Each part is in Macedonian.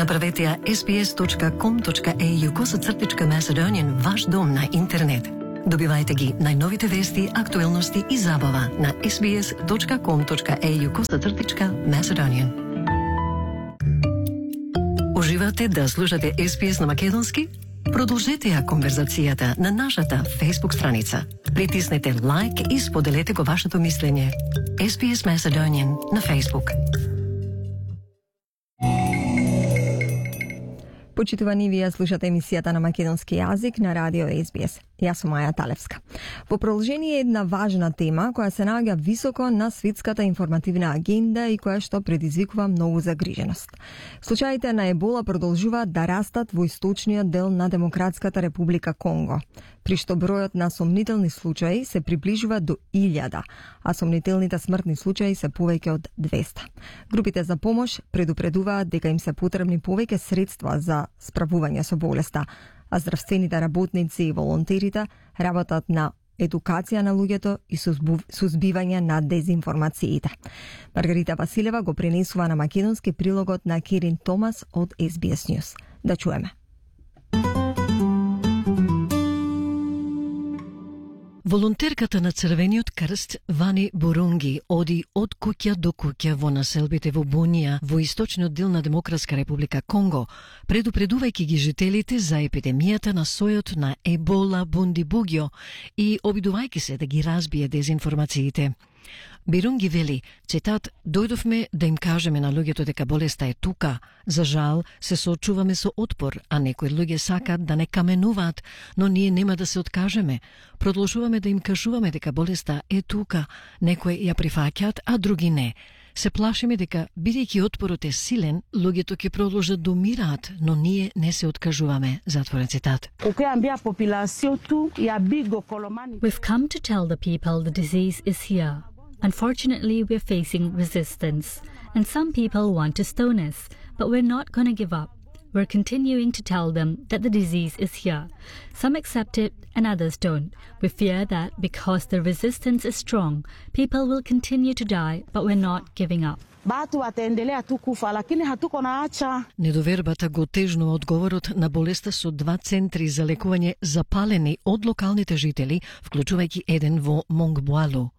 Направете ја sbs.com.au/Macedonian ваш дом на интернет. Добивајте ги најновите вести, актуелности и забава на sbs.com.au/Macedonian. Уживате да слушате SBS на македонски? Продолжете ја конверзацијата на нашата Facebook страница. Притиснете лайк и споделете го вашето мислење. SBS Macedonian на Facebook. Почитувани, вие слушате емисијата на македонски јазик на радио SBS. Јас сум Маја Талевска. Во продолжение една важна тема која се наоѓа високо на светската информативна агенда и која што предизвикува многу загриженост. Случаите на ебола продолжуваат да растат во источниот дел на Демократската република Конго, при што бројот на сомнителни случаи се приближува до 1000, а сомнителните смртни случаи се повеќе од 200. Групите за помош предупредуваат дека им се потребни повеќе средства за справување со болеста, а здравствените работници и волонтерите работат на едукација на луѓето и сузбивање на дезинформациите. Маргарита Василева го пренесува на македонски прилогот на Керин Томас од SBS News. Да чуеме. Волонтерката на Црвениот крст Вани Бурунги оди од куќа до куќа во населбите во Бунија, во источниот дел на Демократска република Конго, предупредувајќи ги жителите за епидемијата на сојот на ебола бундибуѓо и обидувајќи се да ги разбие дезинформациите. Бирунги вели, цитат, дојдовме да им кажеме на луѓето дека болеста е тука. За жал, се соочуваме со отпор, а некои луѓе сакат да не каменуваат, но ние нема да се откажеме. Продолжуваме да им кажуваме дека болеста е тука. Некои ја прифаќаат, а други не. Се плашиме дека, бидејќи отпорот е силен, луѓето ќе продолжат да умираат, но ние не се откажуваме. Затворен цитат. We've come to tell the people the disease is here. Unfortunately, we're facing resistance, and some people want to stone us, but we're not going to give up. We're continuing to tell them that the disease is here. Some accept it and others don't. We fear that because the resistance is strong, people will continue to die, but we're not giving up. Недовербата го тежнува одговорот на болеста со 2 центри за лекување запалени од локалните жители, вклучувајќи еден во Монгбуалу.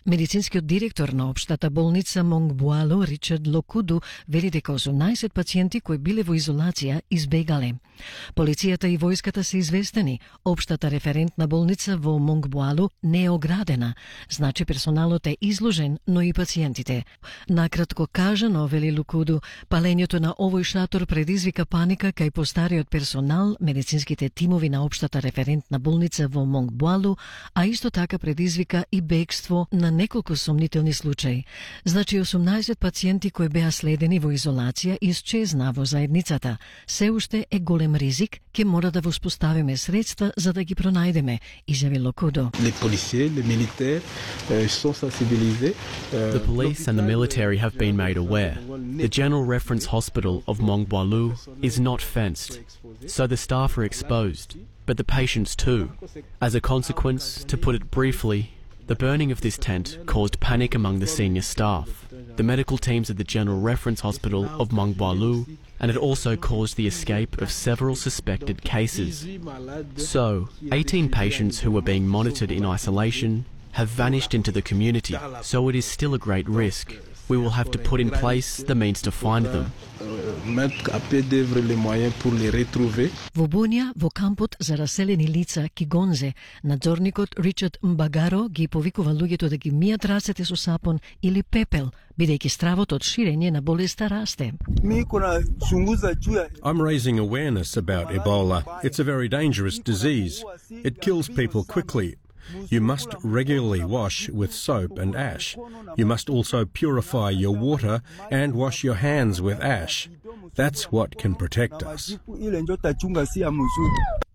Медицинскиот директор на општата болница Монгбуало, Ричард Локуду, вели дека 18 пациенти кои биле во изолација избегале. Полицијата и војската се известени. Општата референтна болница во Монгбуало не е оградена, значи персоналот е изложен, но и пациентите. Накратко кажано, вели Локуду, палењето на овој шатор предизвика паника кај постариот персонал, медицинските тимови на општата референтна болница во Монгбуало, а исто така предизвика и бегство на неколку сомнителни случаи. Значи 18 пациенти кои беа следени во изолација исчезна во заедницата. Се уште е голем ризик, ке мора да воспоставиме средства за да ги пронајдеме, изјави Локудо. The police and the military have been made aware. The General Reference Hospital of Moнгбуalo is not fenced, so the staff are exposed, but the patients too. As a consequence, to put it briefly, the burning of this tent caused panic among the senior staff, the medical teams at the General Reference Hospital of Moнгбуalo, and it also caused the escape of several suspected cases. So, 18 patients who were being monitored in isolation have vanished into the community, so it is still a great risk. We will have to put in place the means to find them. Во Бунија, во кампот за раселени лица Кигонзе, надзорникот Ричард Мбагаро ги повикува луѓето да ги мијат рацете со сапон или пепел, бидејќи стравот од ширење на болеста расте. I'm raising awareness about Ebola. It's a very dangerous disease. It kills people quickly. You must regularly wash with soap and ash. You must also purify your water and wash your hands with ash. That's what can protect us.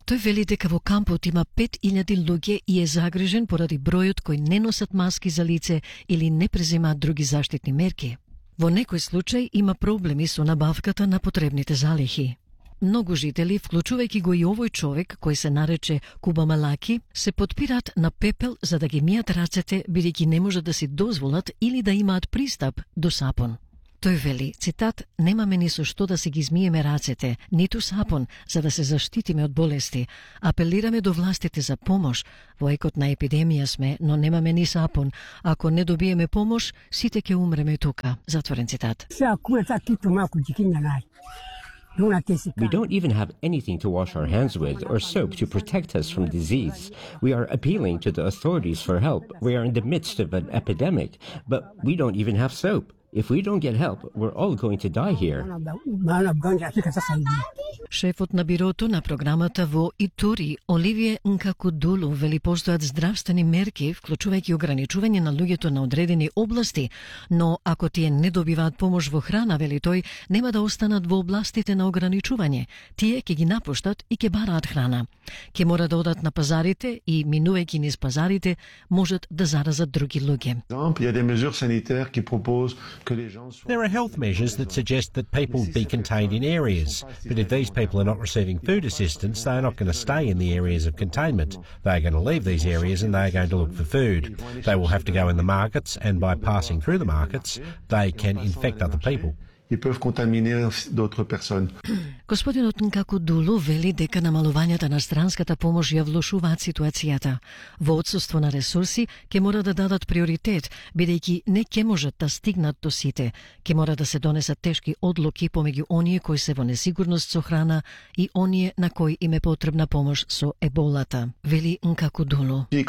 Тој вели дека во кампот има 5000 луѓе и е загрижен поради бројот кои не носат маски за лице или не преземаат други заштитни мерки. Во некој случај има проблеми со набавката на потребните залихи. Многу жители, вклучувајќи го и овој човек кој се нарече Куба Малаки, се потпираат на пепел за да ги мијат рацете, бидејќи не можат да си дозволат или да имаат пристап до сапон. Тој вели, цитат, немаме ни со што да се ги измиеме рацете, ниту сапон, за да се заштитиме од болести. Апелираме до властите за помош. Во екот на епидемија сме, но немаме ни сапон. Ако не добиеме помош, сите ќе умреме тука. Затворен цитат. We don't even have anything to wash our hands with or soap to protect us from disease. We are appealing to the authorities for help. We are in the midst of an epidemic, but we don't even have soap. If we don't get help, we're all going to die here. Шефот на бирото на програмата во Итури, Оливие Нкакудулу, вели постојат здравствени мерки, вклучувајќи ограничување на луѓето на одредени области, но ако тие не добиваат помош во храна, вели тој, нема да останат во областите на ограничување. Тие ќе ги напуштат и ќе бараат храна. Ќе мора да одат на пазарите и, минувајќи низ пазарите, можат да заразат други луѓе. There are health measures that suggest that people be contained in areas, but if these people are not receiving food assistance, they are not going to stay in the areas of containment. They are going to leave these areas and they are going to look for food. They will have to go in the markets, and by passing through the markets, they can infect other people. Господинот Нкакудулу вели дека намалувањата на странската помош ја влошуваат ситуацијата. Во отсуство на ресурси, ќе мора да дадат приоритет, бидејќи не ќе можат да стигнат до сите. Ќе мора да се донесат тешки одлуки помеѓу оние кои се во несигурност со храна и оние на кои им е потребна помош со еболата, вели Нкакудулу. In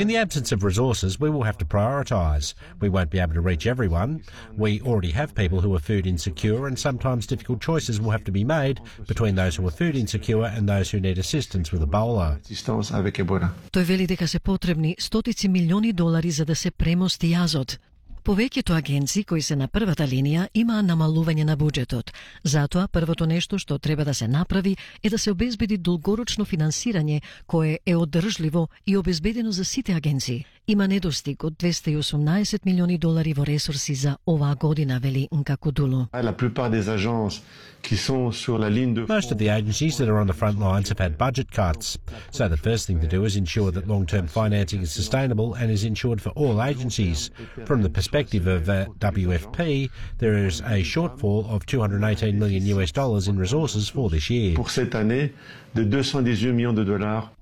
the absence of resources, we will have to prioritise. We won't be able to reach everyone. We already have people who are food insecure, and sometimes difficult choices will have to be made between those who are food insecure and those who need assistance with Ebola. Тој вели дека се потребни стотици милиони долари за да се премости јазот. Повеќето агенции кои се на првата линија имаа намалување на буџетот. Затоа, првото нешто што треба да се направи е да се обезбеди долгорочно финансирање кое е одржливо и обезбедено за сите агенции. Има недостиг од 218 милиони долари во ресурси за оваа година, вели Нкакудулу. Most of the agencies that are on the front lines have had budget cuts. So the first thing to do is ensure that long-term financing is sustainable and is ensured for all agencies. From the perspective of WFP, there is a shortfall of $218 million in resources for this year.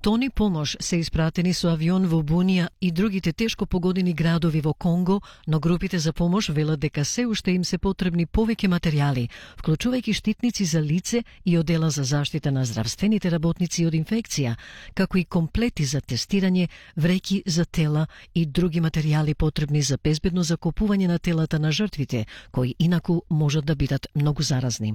Тони помош се испратени со авион во Бунија и другите тешко погодени градови во Конго, но групите за помош велат дека се уште им се потребни повеќе материјали, вклучувајќи штитници за лице и одела за заштита на здравствените работници од инфекција, како и комплети за тестирање, вреќи за тела и други материјали потребни за безбедно закупување на телата на жртвите, кои инаку можат да бидат многу заразни.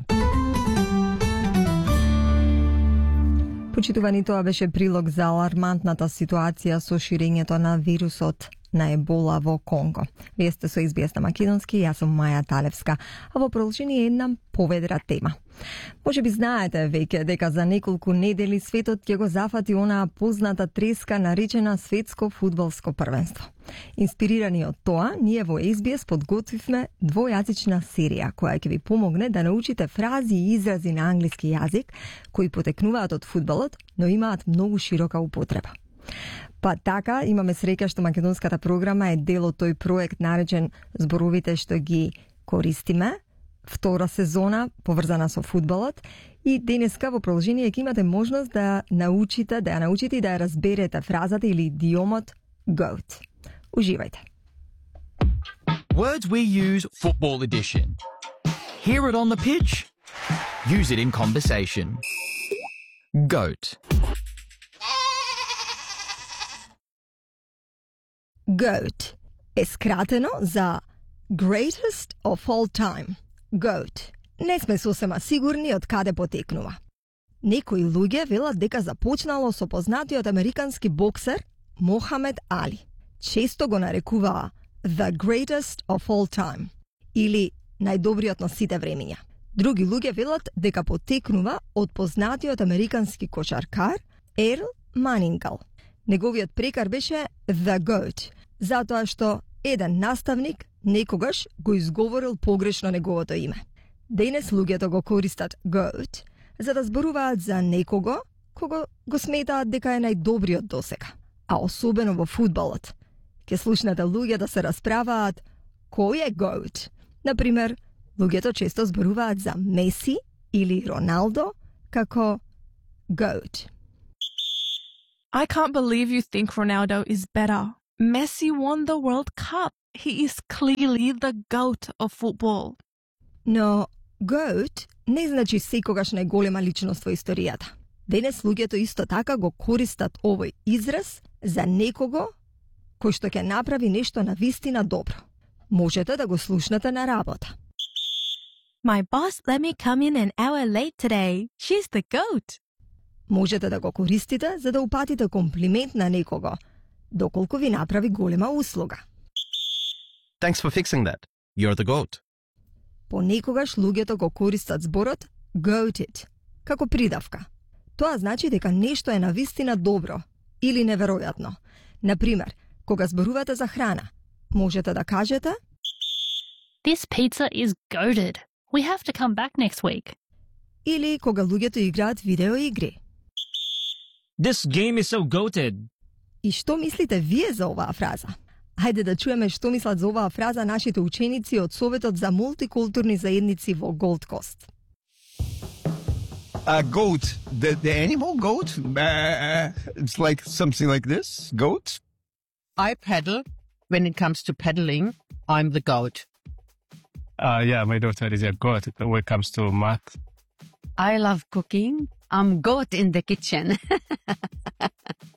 Почитувани, тоа беше прилог за алармантната ситуација со ширењето на вирусот на ебола во Конго. Вие сте со SBS на македонски, јас сум Маја Талевска, а во продолжение една поведра тема. Може би знаете веќе дека за неколку недели светот ќе го зафати онаа позната треска наречена Светско фудбалско првенство. Инспирирани од тоа, ние во SBS подготвивме двојазична серија која ќе ви помогне да научите фрази и изрази на англиски јазик кои потекнуваат од фудбалот, но имаат многу широка употреба. Па така, имаме среќа што македонската програма е дел од тој проект наречен Зборовите што ги користиме, втора сезона поврзана со фудбалот, и денеска во продолжение ќе имате можност да научите и да ја разберете фразата или идиомот GOAT. Уживајте. Words we use football edition. Hear it on the pitch. Use it in conversation. GOAT. GOAT е скратено за Greatest of All Time. GOAT. Не сме сосема сигурни од каде потекнува. Некои луѓе велат дека започнало со познатиот американски боксер Мохамед Али. Често го нарекуваа The Greatest of All Time или најдобриот на сите времиња. Други луѓе велат дека потекнува од познатиот американски кошаркар Ерл Манингал. Неговиот прекар беше The Goat, затоа што еден наставник некогаш го изговорил погрешно неговото име. Денес луѓето го користат GOAT за да зборуваат за некого кого го сметаат дека е најдобриот досега. А особено во фудбалот. Ке слушнете луѓе да се расправаат кој е GOAT. Например, луѓето често зборуваат за Меси или Роналдо како GOAT. I can't believe you think Ronaldo is better. Messi won the World Cup. He is clearly the GOAT of football. Но GOAT не значи секогаш најголема личност во историјата. Денес луѓето исто така го користат овој израз за некого кој што ќе направи нешто на вистина добро. Можете да го слушнете на работа. My boss let me come in an hour late today. She's the GOAT. Можете да го користите за да упатите комплимент на некого, доколку ви направи голема услуга. Thanks for fixing that. You're the GOAT. Понекогаш луѓето го користат зборот GOATed како придавка. Тоа значи дека нешто е навистина добро или неверојатно. Например, кога зборувате за храна, можете да кажете This pizza is goated. We have to come back next week. Или кога луѓето играат видеоигри. This game is so goated. И што мислите вие за оваа фраза? Хајде да чуеме што мислат за оваа фраза нашите ученици од Советот за мултикултурни заедници во Голд Кост. Goat, the animal goat? It's like something like this, goat? I paddle. When it comes to paddling, I'm the goat. Yeah, my daughter is a goat when it comes to math. I love cooking. I'm goat in the kitchen.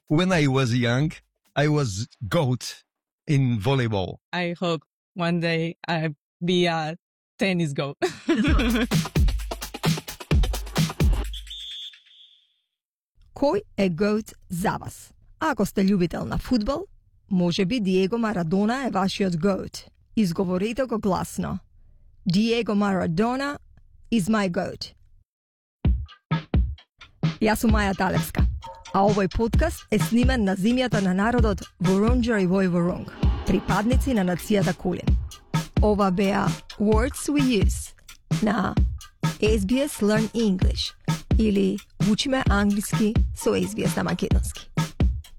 When I was young, I was goat in volleyball. I hope one day I'll be a tennis goat. Кој е GOAT за вас? Ако сте љубител на фудбал, може би Диего Марадона е вашиот GOAT. Изговорите го гласно. Diego Maradona is my GOAT. Јас сум Маја Талевска, а овој подкаст е снимен на земјата на народот Вурунџери во Вурунг, припадници на нацијата Кулин. Ова беа Words We Use на SBS Learn English или Учиме англиски со SBS на македонски.